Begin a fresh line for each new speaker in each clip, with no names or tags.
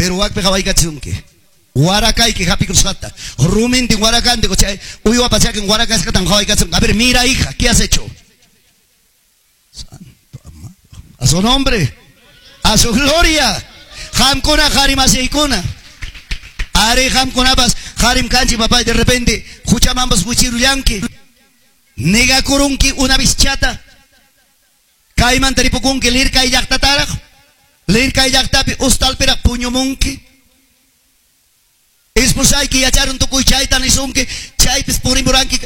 Pero wakpi qawaykachisunki. Warakayki hapikusqata. Rumintin warakantin, chay uywapa chakin warakasqatan qawaykachisunki. A ver, mira hija, ¿qué has hecho? Santo amado. A su nombre, a su gloria. Qamkuna qarimasikuna. Ari qamkunapas qarim kanchik papay, de repente huchamanpas wichirullanki. Negakurunki una bischata. Kaymanta ripukunki lirkay llaqtataraq. Lirkay llaqtapi ustalpiraq puñumunki. Esposayki yacharun tukuy chayta nisunki, chaypis purimuranki.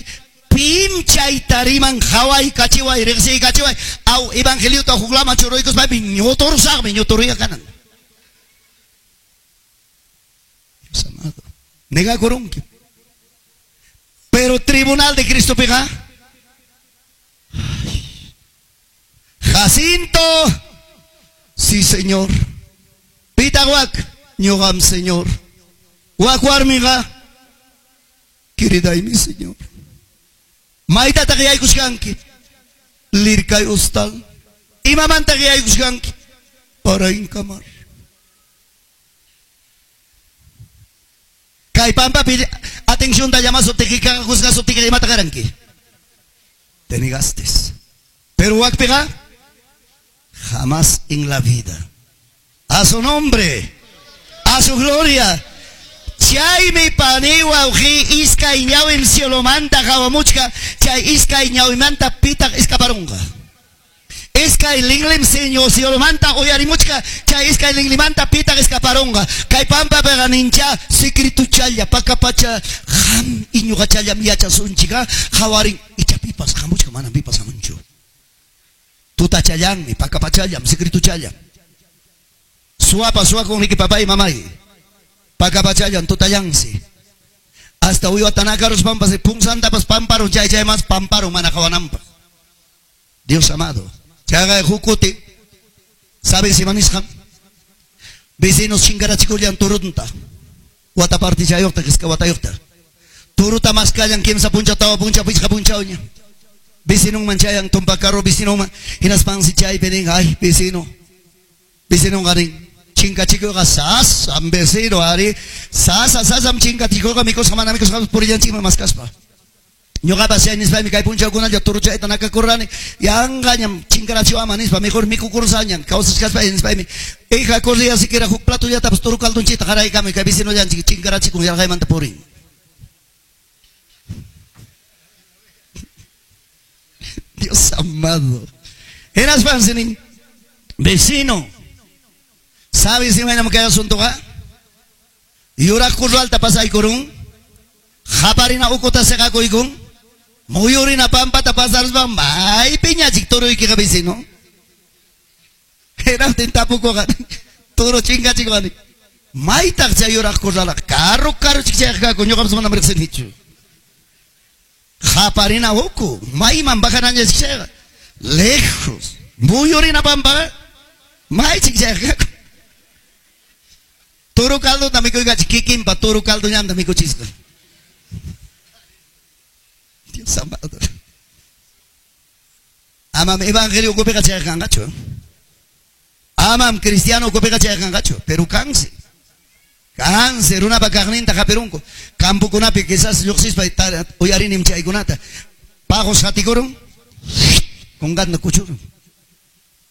Pim chayta riman qawaykachiway, riqsiykachiway. Aw evangeliota huklaman churuykuspaymi ñuturusaqmi, ñuturuya kanan. Dios amado. Negakurunki. Pero tribunal de Cristo piqa. Jacinto. Sí, señor. Pitahuac, ñuqam, señor. Wak warmiqa, querida mi señor. Maytataq yaykushkanki? Lirkay ustal. Imamantaq yaykushkanki? Para inkamar. Kay pampapi atención ta llamasuptiki, juzgasuptiki, imata qaranki? Te negaste. Pero wakpiqa, jamás en la vida. A su nombre, a su gloria. Chaymi pani wawqi iskay ñawim cielomanta qawamuchka, chay iskay ñawimanta pitaq escaparunqa. Iskay linlim señor cielomanta uyarimuchka, chay iskay linlimanta pitaq escaparunqa. Kay pampapiqa nincha secretuchalla pakapacha qam iñuqachallam yachasunchika qawarin icha pipas hamuchka manam pipas hamunchu. Tutachallanmi pakapachallam secretuchallam. Suapa suakunriki papay mamay. Pakapachallan tutallansi. Hasta uywata nakaruspanpas punsantapas pamparun chay chay mas pamparun mana qawananpaq. Dios amado. Chayqa huk kuti, ¿sabes ima nisqan? Vecinos chinkarachikullan turunta. Wata partichayuqta, qisqa watayuqta. Turuta maskallan kimsa punchaw, tawa punchaw, pichqa punchawña. Vecinonman chayan, tumpa carro vecinonman. Hinaspansi chaypi nin, ay, vecino. Vecinonqa nin, chinkachikuyqa sasam vecino, ari. Sasa, sasam chinkachikuyqa mikusqa mana mikusqa purillanchikman maskaspa. Ñuqapas chay nispaymi kay punchawkunalla turuchayta nakakurrani, yanqañam chinkarachiwama nispa, mejor mikukursañam, kawsachkaspay nispaymi, hija corría siquiera huk platollatapas turu caldonchita qaraykamuy kay vecinollanchik chinkarachikun yarqaymanta purin. Dios amado. Hinaspansi nin, vecino, ¿sabes imaynam kay asuntoqa? Yuraq kurralta pasaykurun, qaparina ukuta seqakuykun, muyurina pampata pasaruspa maypiñachik turuykiqa vecino. Hinaptin tapukuqa turu chinkachikwan, maytaq chay yuraq kurralqa carro carro chik chayqa ñuqapas manam riqsinichu. Qaparina uku, mayman bajanañachik chayqa, lejos, muyurina pampaqa maychik chayqa. Turu caldota mikuykachik kikinpa turu caldo ñanta mikuchisqa. Dios amado. Amam evangelio ukupiqa chayqanqachu. Amam cristiano ukupiqa chayqanqachu, pero kansi. Kansi runapa kaqninta hapirunku. Campokunapi quizás lluqsispa uyarinim chaykunata. Paqos qatikurun, kungatna kuchurun.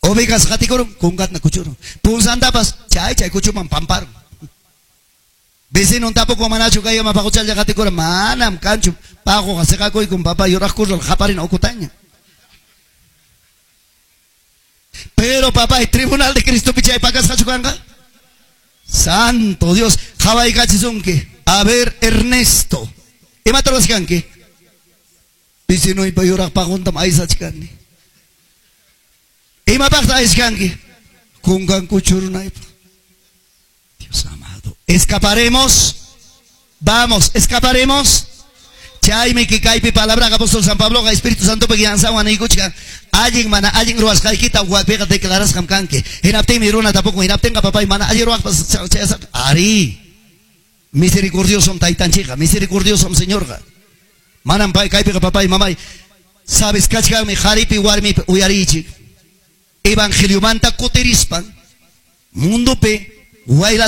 Ovejas qatikurun, kungatna kuchurun. Punsantapas chay chay kuchuman pamparun. Vecino tampoco manachu kayama paquchalla qatikura, manam kanchu paquqa seqakuykun papá yuraq kurral qaparina ukutaña. Pero papá, el tribunal de Cristo pichay pakasqachu kanqa? Santo Dios, qawaykachisunki. A ver, Ernesto, imata ruwaskanki? Vecinoypa yuraq paquntam aysachkani. Imapaqta ayskanki? Kunkan kuchurunaypaq. Dios amado. Escaparemos. Vamos, escaparemos. Chaymi kikaypi palabra apóstol San Pablo, Espíritu Santo piyansawan niykuchkan. Allin mana allin ruwasqaykita wapiqa declarasqam kanki. Hinaptinmi runa tapuku, hinaptinqa papay mana allin ruwaqpas chayasaq. Ari. Misericordiosom taytanchikqa, misericordiosom Señorqa. Manam pay kaypiqa papay mamay. Sabes kachkanmi qharipi warmipi uyariychik. Evangeliomanta kutirispan mundopi waylas